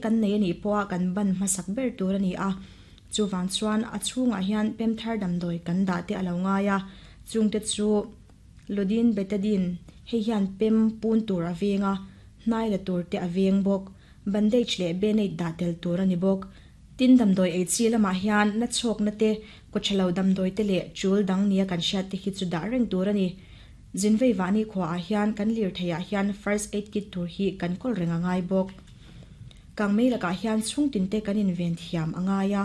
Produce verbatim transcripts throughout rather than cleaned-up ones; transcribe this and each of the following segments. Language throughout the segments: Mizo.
Kan nei anih pawha kan ban hmasak ber tur a ni a, chuvang chuan a chhungah hian pemthar damdawi kan dah te a lo ngai a, chungte chu lodin betadine hei hian pem pun tur a veng a, hnai la tur te a veng bawk, bandage leh band-aid dah tel tur a ni bawk. Tin, damdawi ei chi lamah hian na chhawkna te, kawthalo damdawi te leh tul dang nia kan hriat te hi chu dah reng tur a ni. Zinvei vahni khuaah hian kan lirtheiah hian first aid kit tur hi kan kawl reng a ngai bawk. Kangmei lakah hian chhungtin te kan inven thiam a ngai a,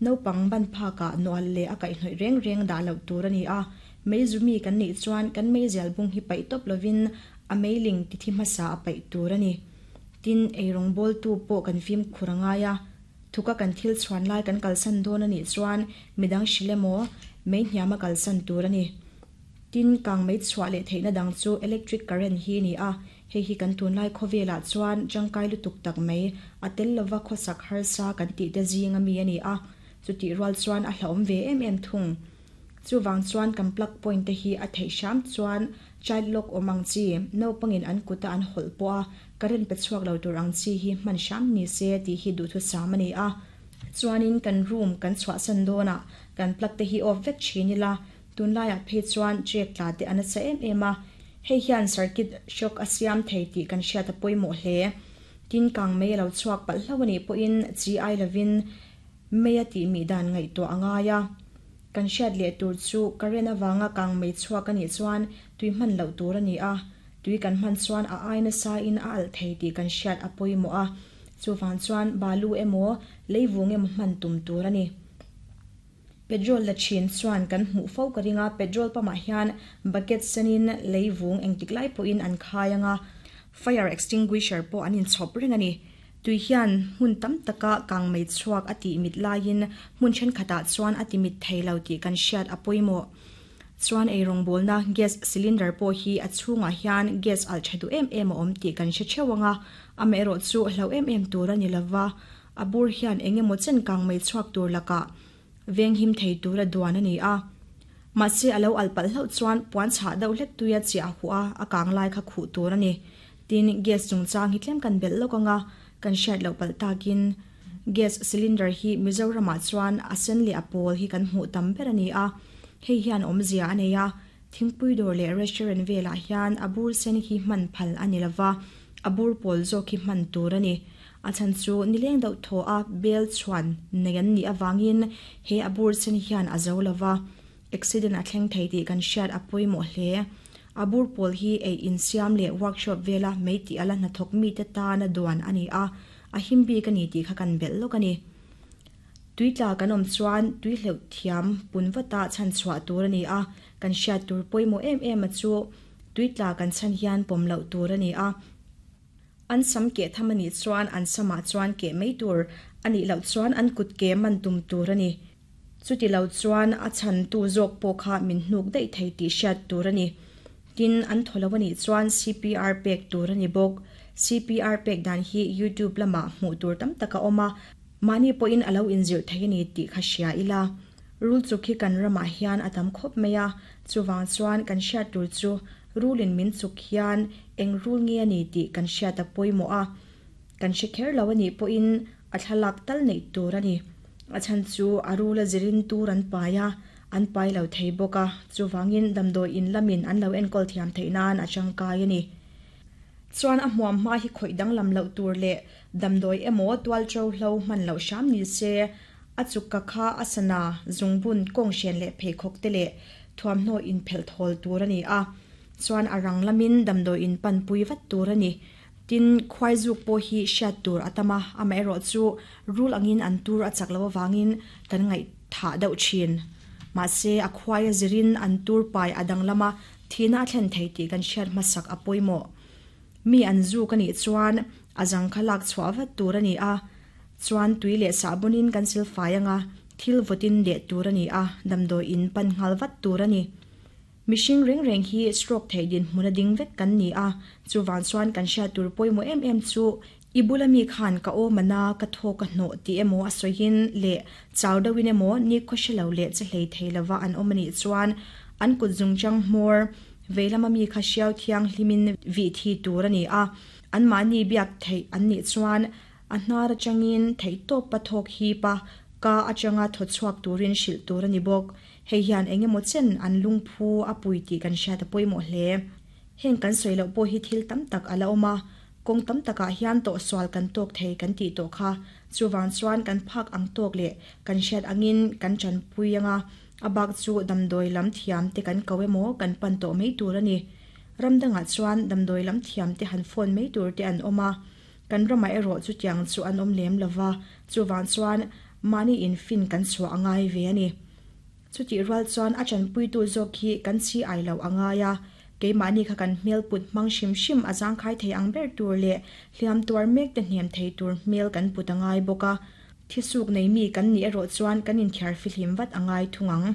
naupang ban phakah nawlh leh a kaihhnawih reng reng dah loh tur a ni a, meizumi kan nih chuan kan meizial bung hi paih tawp lovin a meiling tithi hmasa a paih tur a ni. Tin, eirawng bawltu pawh kan fimkhur a ngai a, thuka kan thil chhuan lai kan kalsan dawn a nih chuan midang hrilh emaw mei hniama kalsan tur a ni. Tin, kangmei chhuah leh theihna dang chu electric current hi a ni a, hei hi kan tunlai khawvelah chuan tangkai lutuk tak mai, a tel lova khawsak harsa kan tih te zing ami a ni a, chutih rual chuan a hlauhawm ve em em thung. Chuvang chuan kan plug point te hi a theih hram chuan child lock awm ang chi, naupangin an kuta an hawlh pawh a current pe chhuak lo tur ang chi hi hman hram ni se tih hi duhthusam a ni a. Chuanin kan room kan chhuahsan dawnah kan plug te hi off vek thin ila, tunlaiah phei chuan check tla te a nasa em em a, hei hian circuit shock a siam thei tih kan hriat a pawimawh hle. Tin, kangmei a lo chhuak palh hlauh a nih pawhin chi ai lovin mei a tih mih dan ngaihtuah a ngai a. Kan hriat leh tur chu current avanga kangmei chhuak a nih chuan tui hman loh tur a ni a, tui kan hman chuan a ai nasa in a alh thei tih kan hriat a pawimawh a, chuvang chuan balu emaw leivung emaw hman tum tur a ni. Petrol la thin chuan kan hmuh fo ka ring a, petrol pump ah hian bucket senin leivung engtik lai pawhin an khai anga, fire extinguisher pawh an inchhawp reng a ni. Tui hian hmun tam taka kangmei chhuak a tih mit laiin hmun thenkhatah chuan a ti mit thei lo tih kan hriat a pawimawh. Chuan eirawng bawlna gas cylinder pawh hi a chhungah hian gas alh tha duh em em a awm tih kan hre theuh anga, amaherawh chu hlo em em tur a ni lova, a bur hian engemaw chen kangmei chhuak tur lakah veng him thei tur a duan a ni a. Mahse a lo alh palh hlauh chuan puan chhah deuh hlek tuia chiah huh a, a kang lai kha khuh tur a ni. Tin, gas chungchang hi tlem kan belh lawk anga, kan hriat loh palh takin gas cylinder hi Mizoramah chuan a sen leh a pawl hi kan hmuh tam ber a ni a, hei hian awmzia a nei a, thingpui dawr leh restaurant velah hian a bur sen hi hman phal a ni lova, a bur pawl zawk hi hman tur a ni. A chhan chu nileng deuh thaw a bel chhuan nei an nih avangin he a bur sen hian a zo lova, accident a thleng thei tih kan hriat a pawimawh hle. A bur pawl hi ei insiam leh workshop vela mei tih ala hnathawk mi te tana duan a ni a, a him bik a ni tih kha kan belh lawk a ni. Tui tla kan awm chuan tui hleuh thiam pun vata chhan chhuah tur a ni a, kan hriat tur pawimawh em em a chu tui tla kan chhan hian pawm loh tur a ni a. An sam keh tham a nih chuan an samah chuan keh mai tur a nih loh chuan an kut ke man tum tur a ni. Chuti lo chuan a chhan tu zawk pawh kha min hnuk daih thei tih hriat tur a ni. Tin, an thaw lo a nih chuan C P R pek tur a ni bawk. C P R pek dan hi YouTube lamah hmuh tur tam tak a awm a, mahni pawhin a lo inzirh thei a ni tih kha hria ila. Rul chuk hi kan ramah hian a tam khawp mai a, chuvang chuan kan hriat tur chu rulin min chuk hian eng rul nge a ni tih kan hriat a pawimawh a, kan hre kher lo a nih pawhin a thlalak tal neih tur a ni. A chhan chu a rul a zirin tur an pai a, an pai lo thei bawk a, chuvangin damdawi in lamin an lo enkawl thiam theih nan a tangkai a ni. Chuan a hmuam hma hi khawih danglam loh tur leh damdawi emaw tual to hlo hman loh hram ni se, a chuk ka kha a sana zungbun kawng hren leh pheikhawk te leh thuamhnaw inphelh thawl tur a ni a, chuan a rang lamin damdawi in pan pui vat tur a ni. Tin, khuai zuk pawh hi hriat tur a tam a, amaherawh chu rul angin an tur a chak lo avangin kan ngaih thah deuh thin. Mahse a khuai a zirin an tur pai a dang lama thihna a thlen thei tih kan hriat hmasak a pawimawh. Mi an zuk a nih chuan a zang kha lak chhuah vat tur a ni a, chuan tui leh sahbunin kan silfai anga thil vawtin leh tur a ni a, damdawi in pan nghal vat tur a ni. Mihring reng reng hi stroke thei din hmun a ding vek kan ni a, chuvang chuan kan hriat tur pawimawh em em chu i bula mi khan ka awm ana ka thaw ka hnawh tih emaw a sawiin leh chau deuhin emaw ni khaw hre lo leh che hlei thei lova an awm a nih chuan an kut zungchang hmawr veilama mi kha hriau thiang hlimin vih thi tur a ni a, an mahni biak theih an nih chuan A hnar atangin theihtawp pathawk hipa ka atanga thochhuak turin hril tur ani bawk. Hei hian engemaw chen an lungphu a pui tih kan hriat a pawimawh hle. Heng kan sawi loh pawh hi thil tam tak ala awm a, kawng tam takah hian tawh sual kan tawk thei kan tih tawh kha. Chuwang chuan kan phak ang tawk leh kan hriat angin kan chanpui anga a bak chu damdawi lam thiam te kan ko emaw kan pan tawh mai tur ani. Ramdangah chuan damdawi lam thiam te han phone mai tur te an awm a, kan rama erawh chu tiang chu an awm lem lova, chuwang chuan mani in fin kan chhuah angai ve ani. Chuti rual chuan a chanpui tu zawk hi kan chi ai lo angai a, keimahni kha kan hmel put hmang hrim hrim a zangkhai thei ang ber tur leh hliam tuar mek te hnem thei tur hmel kan put angai bawk a. Thisuk nei mi kan ni erawh chuan kan inthiar fihlim vat angai thungang.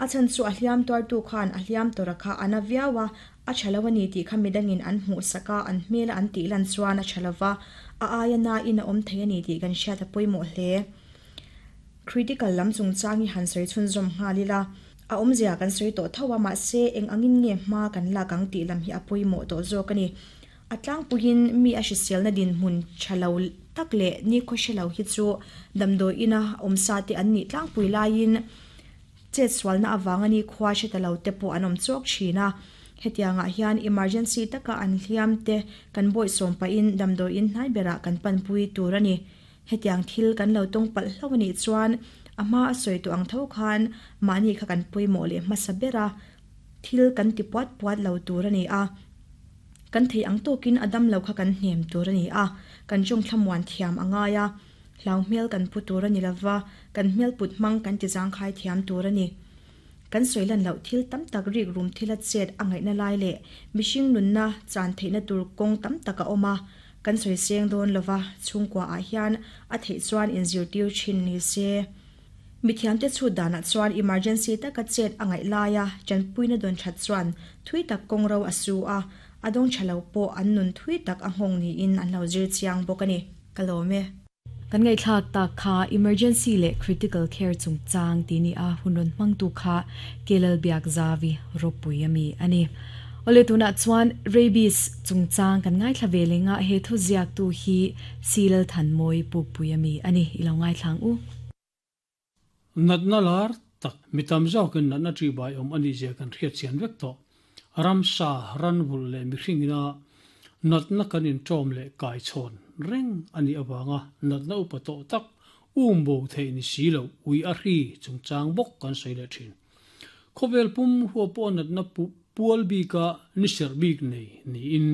A chan chu a hliam tuar tu khan a hliam tora kha ana viawa a thalo ani tih kha midangin an hmuh saka an hmel an tih lan chuan a thalawa a aia na in a awm thei ani tih kan hriat a pawimawh hle. Critical lam chungchang hi han sawi chhun zawm nghalila a awmzia kan sawi tawh tho a, mahse eng angin nge hma kan lak ang tih lam hi a pawimawh tawh zawk ani. A tlangpuiin mi a hriselna din hmun thalo tak leh ni khaw hrelo hi chu damdawi ina awmsa te an nih tlangpui laiin chet sualna awang ani khua hretalo te pawh an awm chawk thin a. Hetiangah hian emergency taka an hliam te kan bawi sawm pahin damdawi in hnai berah kan panpui tur ani. Hetiang thil kan lo tawng palh hlo ani chuan a hma a sawi tawh ang tho khan mahni kha kan pawimawh leh hmasa bera thil kan ti puat puat lo tur ani a. Kan thei ang tawkin a dam lo kha kan hnem tur ani a, kan jong thlamuan thiam angai a, hlau hmel kan pu tur ani lova, kan hmel put hmang kan ti zangkhai thiam tur ani. Kan sawilan loh thil tam tak rik rum thil a chet a ngaihna lai leh mihring nunna chan theihna tur kawng tam tak a awm a, kan sawi seng dawn lova chhungkua ah hian a theih chuan inzirtir thin ni se. Mithiam te chu danah chuan emergency taka chet a ngaih laia chanpuina dawn that chuan thui tak kawng ro a su a, a dawng thalo pawh an nun thui tak a nghawng niin an lo zir chiang bawk ani. Ka lawm e. Kan ngai thlak tak kha emergency le critical care chungchang ti ni a hunron hmangtu kha kelal biak zawi ropui ami ani. Ole tuna chuan rabies chungchang kan ngai thla velenga he thu ziak tu hi silal than moi pukpui ami ani. Ilo ngai thlang u. Natna lar tak mitam zawkin natna tri bai om ani zia kan hriat chian vek to. Ramsa ranvul le mihringina natna kan in tawm le kai chhawn reng ani awanga natna upa tawh tak umbo thei ni silo ui a hri chungchang bawk kan sawi le thin. Khawvel pum huwa pawh natna pual bika ni ser bik nei ni in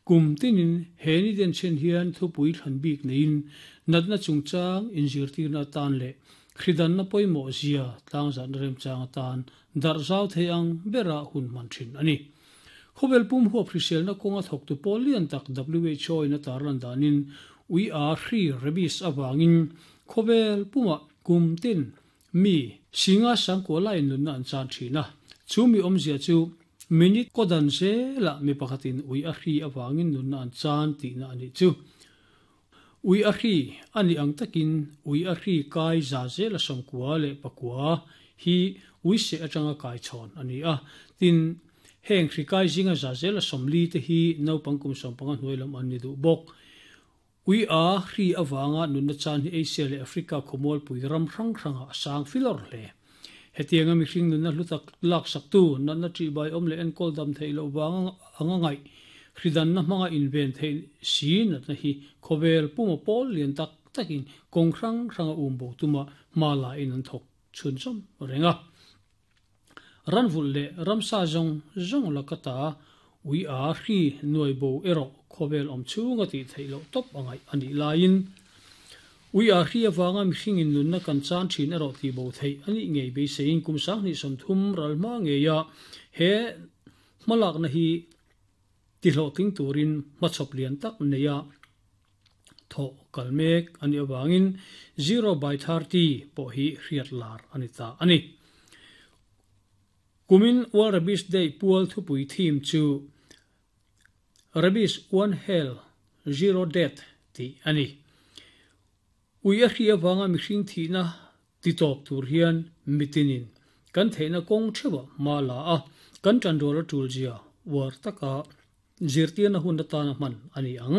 kum tinin he ni den chen hian thupui thlan bik nein natna chungchang inzirtirna tan le khridan na pawimawh zia tlangzan rem chang atan dar zau thei ang bera hun man thin ani. Khawvel pum huwa hriselna kawnga thawk tu pawl lian tak W H O in a tarlan danin ui a hri rabies awangin khawvel puma kum tin mi singa sangkua lain nunna an chan thina. Chu mi awmzia chu minute kodan zela mi pakhatin ui a hri awangin nunna an chan tihna ani chu. Ui a hri ani ang takin ui a hri kai za zela sawmkua leh pakua hi ui se atanga kai chhawn ani a. Tin heng hri kai zinga za zela sawmli te hi naupang kum sawmpanga hnuai lam an ni duh bawk. Ui a hri awanga nunna chan hi Asia leh Africa khawmual pui ram hrang hranga a sang filawr hle. Hetianga mihring nunna hlu tak lak sak tu natna tri bai awm leh enkawl dam theih loh wang anga ngaih hridanna hmanga inven thei si natna hi khawvel puma pawl lian tak takin kawng hrang hranga umbo tuma hma la in an thawk chhun zawm renga. Ranvul leh ramsa zawng zawng lakata ui a hri nuai bo erawh khawvel awm chhunga tih theih loh tawp angaih ani laiin ui a hri awanga mihringin nunna kan chan thin erawh tih bo theih ani ngei beiseiin kum sanghnih sawmthum ral hma ngeia he hmalakna hi ti hlawhtling turin hmachhawp lian tak neia thaw kalmek ani awangin zero by thirty pawh hi hriat lar ani ta ani. Kumin World Rabies Day pual thupui theme chu Rabies one hell zero death ti ani. Ui a hri awanga mihring thihna ti tawp tur hian mitinin kan theihna kawng thewa ma la a kan tanrual a tul zia war taka zirtirna hun atana hman ani ang.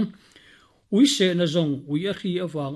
Ui se na zong ui a hri awang.